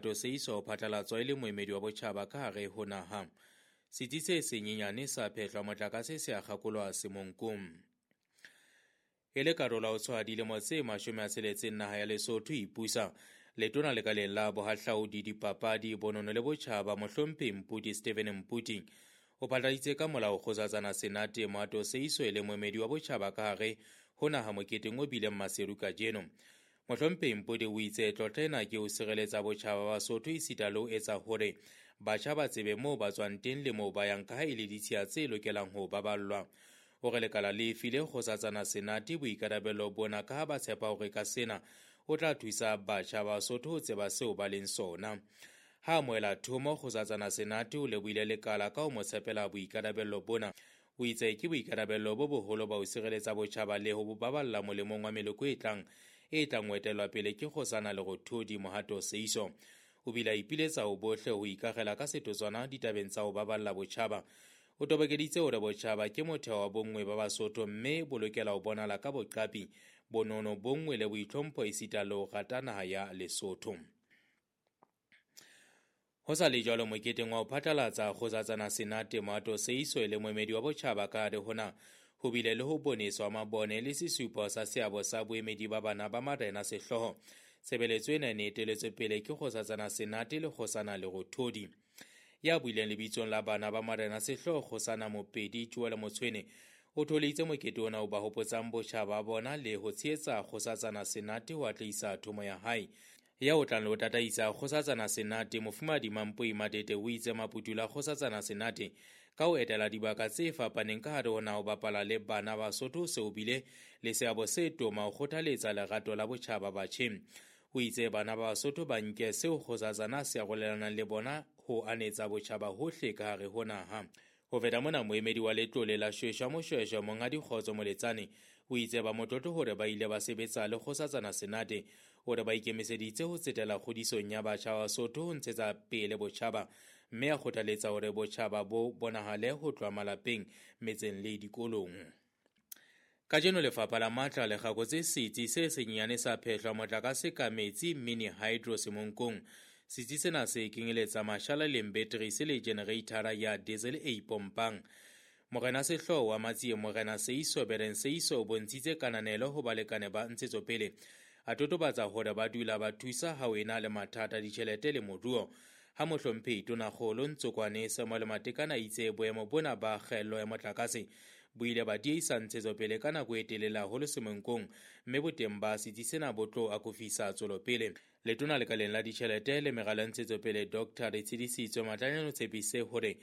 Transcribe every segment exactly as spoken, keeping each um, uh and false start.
Seeiso o phatlalatswa e le moemedi wa botjhaba ka hare ho naha. Setsi se senyenyane sa phehlwa motlakase se a kgakolwa Semonkong. E le karolo ya ho tshwaya dilemo tse mashome a tsheletseng naha ya Lesotho e ipusa, letona lekaleng la bohahlaudi, dipapadi, bonono le botjhaba Mohlomphehi Mphuti Stephen Mphuti o phatlaladitse ka molao Kgosatsana Senate Mohato Seeiso e le moemedi wa botjhaba ka hare ho naha moketeng o bileng Maseru kajeno. Mohlomphehi Mphuti o itse tlotla ena ke ho sireletsa botjhaba ba Basotho esita le ho etsa hore batjha ba tsebe moo ba tswang teng le moo ba yang ka ha e le ditshiya tse lokelang ho baballwa. O re lekala le file Kgosatsana Senate boikarabelo bona ka ha ba tshepa hore ka sena o tla thusa batjha ba Basotho ho tseba seo ba leng sona. Ha amohela thomo, Kgosatsana Senate o lebohile lekala ka ho mo tshepela boikarabelo bona. O itse ke boikarabelo bo boholo ba ho sireletsa botjhaba le ho bo baballa molemong wa meloko e tlang e tlang ho etellwa pele ke Kgosana Lerothodi Mohato Seeiso. O bile a ipiletsa ho bohle ho ikakgela ka setotswana ditabeng tsa ho baballa botjhaba. O tobokeditse hore botjhaba ke motheo wa bonngwe ba Basotho mme bo lokela ho bonahala ka boqapi, bonono, bonngwe le boitlhompho esita le ho rata naha ya Lesotho. Ho sa le jwalo moketeng wa ho phatlalatsa Kgosatsana Senate Mohato Seeiso e le moemedi wa botjhaba ka hare ho naha, ho bile le ho boneswa mabone le sesupo sa seabo sa boemedi ba bana ba marena sehlooho. Tshebeletso ena e ne eteletswe pele ke Kgosatsana Senate le Kgosana Lerothodi. Ya buileng lebitsong la bana ba marena sehlooho Kgosana Mopedi Joel Motshwene o tholeditse mokete ona o ba hopotsang botjhaba ba bona le ho tshehetsa Kgosatsana Senate ho atlehisa thomo ya hae. Ya o tlang le ho tataisa Kgosatsana Senate Mofumahadi Mampoi Matete o itse maputula a Kgosatsana Senate ka ho etela dibaka tse fapaneng ka hare ho naha ho bapala le bana ba Basotho se o bile le seabo se toma ho kgothaletsa lerato la botjhaba batjheng. O itse bana ba Basotho ba nke seo Kgosatsana se arolelanang le bona ho anetsa botjhaba hohle ka hare ho naha. Ho feta mona, moemedi wa letlole la Shweshwa Moshweshwe Monghadi Kgotso Moletsane o itse ba motlotlo hore ba ile ba sebetsa le Kgosatsana Senate, hore ba ikemiseditse ho tsetela kgodisong ya batjha ba Basotho ho ntshetsa pele botjhaba, mme a kgothaletsa hore botjhaba bo bonahale ho tloha malapeng, metseng le dikolong. Kajeno lefapha la matla le kgakotse setsi se senyenyane sa phehlwa motlakase ka metsi mini hydro Semonkong. Setsi sena se kenyeletsa mashala le battery le generator ya diesel e ipompang. Morena Sehlooho wa Matsie Morena Seeiso Bereng Seeiso o bontshitse kananelo ho balekane ba ntshetsopele. A totobatsa hore ba dula ba thusa ha ho ena le mathata ditjhelete le moruo. Ha Mohlomphehi Tonakgolo Ntsokwane Samuel Matekane a itse boemo bona ba kgaello ya motlakase bo ile ba dieisa ntshetsopele ka nako e telele haholo Semonkong, mme boteng ba setsi sena bo tlo akofisa tswelopele. Letona lekaleng la ditjhelete le meralo ya ntshetsopele Doctor Retshidisitswe Matlanyane o tshepise hore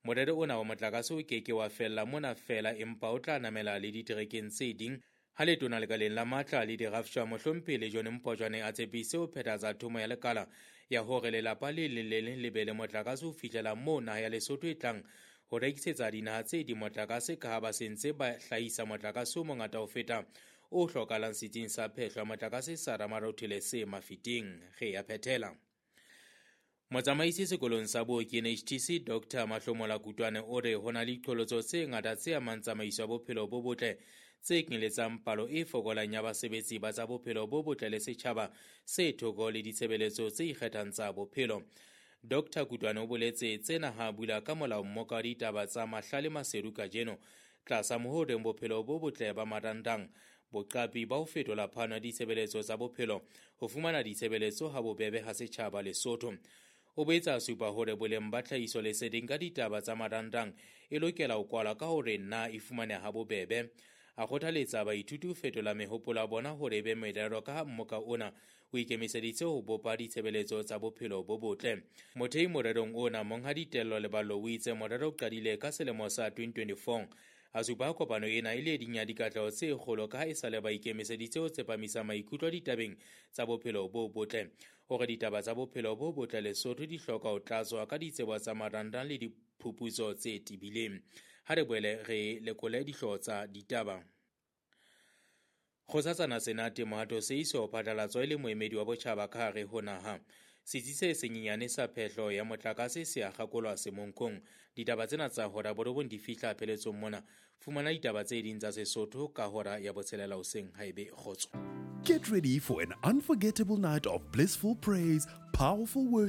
morero ona wa motlakase o keke wa fella mona feela empa o tla namela le diterekeng tse ding. Ha letona lekaleng la matla le dirafshwa Mohlomphehi Lejone Mpotjwane a tshepise ho phethahatsa thomo ya lekala ya hore lelapa le leng le leng le be le motlakase ho fihlela moo naha ya Lesotho e tlang ho rekisetsa dinaha tse ding motlakase ka ha ba se ntse ba hlahisa motlakase o mongata ho feta o hlokahalang setsing sa phehlo ya motlakase sa Ramarothele se Mafeteng. Re ya phethela. Motsamaisi sekolong sa booki N H T C Doctor Mahlomola Kutwane o re ho na le diqholotso tse ngata tse amang tsamaiso ya bophelo bo botle tse kenyeletsang palo e fokolang ya basebetsi ba tsa bophelo bo botle le setjhaba se thoko le ditshebeletso tse ikgethang tsa bophelo. Doctor Kutwane o boletse tsena ha bula ka molao mmoka wa ditaba tsa Mahlale Maseru kajeno tlasa mohoreng bophelo bo botle ba marandang, boqapi ba ho fetola phano ya ditshebeletso tsa bophelo ho fumana ditshebeletso ha bobebe ha setjhaba Lesotho. O boetse a supa hore boleng ba tlhahiso leseding ka ditaba tsa marandang e lokela ho kwalwa ka hore na e fumaneha ha bobebe. A kgothaletsa baithuti ho fetola mehopolo ya bona hore e be merero ka ha mmoka ona o ikemiseditse ho bopa ditshebeletso tsa bophelo bo botle. Mothei morerong ona Monghadi Tello Leballo o itse morero o qadile ka selemo sa twenty twenty-four. A supa kopano ena e le ding ya dikatleho tse kgolo ka ha e sale ba ikemiseditse ho tsepamisa maikutlo ditabeng tsa bophelo bo botle. Hore ditaba tsa bophelo bo botle Lesotho di hloka ho tlatswa ka ditsebo tsa marandang le diphuputso tse tebileng. Ha re boele re lekole dihlooho tsa ditaba. Kgosatsana Senate Mohato Seeiso o phatlalatswa e le moemedi wa botjhaba ka hare ho naha. Setsi se senyenyane sa phehlo ya motlakase se a kgakolwa Semonkong. Ditaba tsena tsa hora borobong di fihla pheletsong mona. Fumana ditaba tse ding tsa Sesotho ka hora ya botshelela hoseng haebe kgotso. Get ready for an unforgettable night of blissful praise, powerful worship,